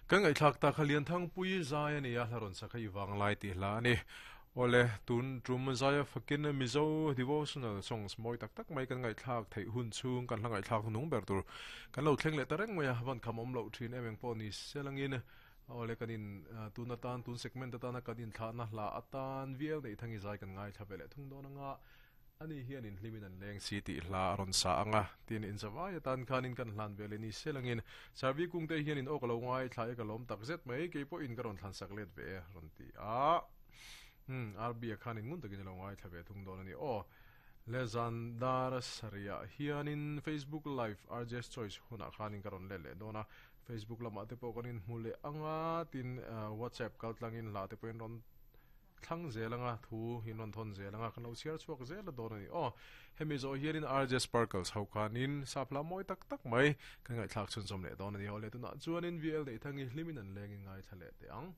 Kan ngaihthlak tak kha Lianthangpuii zai a ni a, hla rawn sak hi i vang lai tih hla a ni. Awle, tun tum zaia fakin Mizo devotional songs mawi tak tak mai kan ngaihthlak theih hun chhung kan hla ngaihthlak hnung ber tur kan lo thleng leh ta reng mai a, van kham awm loh thin em eng pawh ni selangin awle kan in tun atan tun segment atana kan inthlahna hla atan vial neih thangi zai kan ngaithla ve leh thung dawn anga Ani hian in hlimin an leng si tih hla a rawn sa ang a, tin in zavai atan khanin kan hlan ve leh ni selangin Sarvi kungte hian in aw ka lo ngaithla e ka lawm tak zet mai, kei pawhin ka rawn thlansak let ve e a rawn ti a. Umm, RB-a khanin ngun takin a lo ngaithla ve thung dawn a ni aw. Le zan dar sarihah hianin Facebook Live RJ's Choice hunah khanin ka rawn let leh dawn a, Facebook lamah te pawh kan inhmu leh ang a, tin WhatsApp kaltlangin hla te pawhin rawn Thlang zel anga thu in rawn thawn zel anga kan lo chhiar chhuak zel a dawn a ni aw. Hemi zawh hianin RJ Sparkles ho khanin sap hla mawi tak tak mai kan ngaihthlak chhunzawm leh dawn a ni. Aw le tunah chuanin VL Neihthang i hlimin an lengin ngaithla leh teh ang.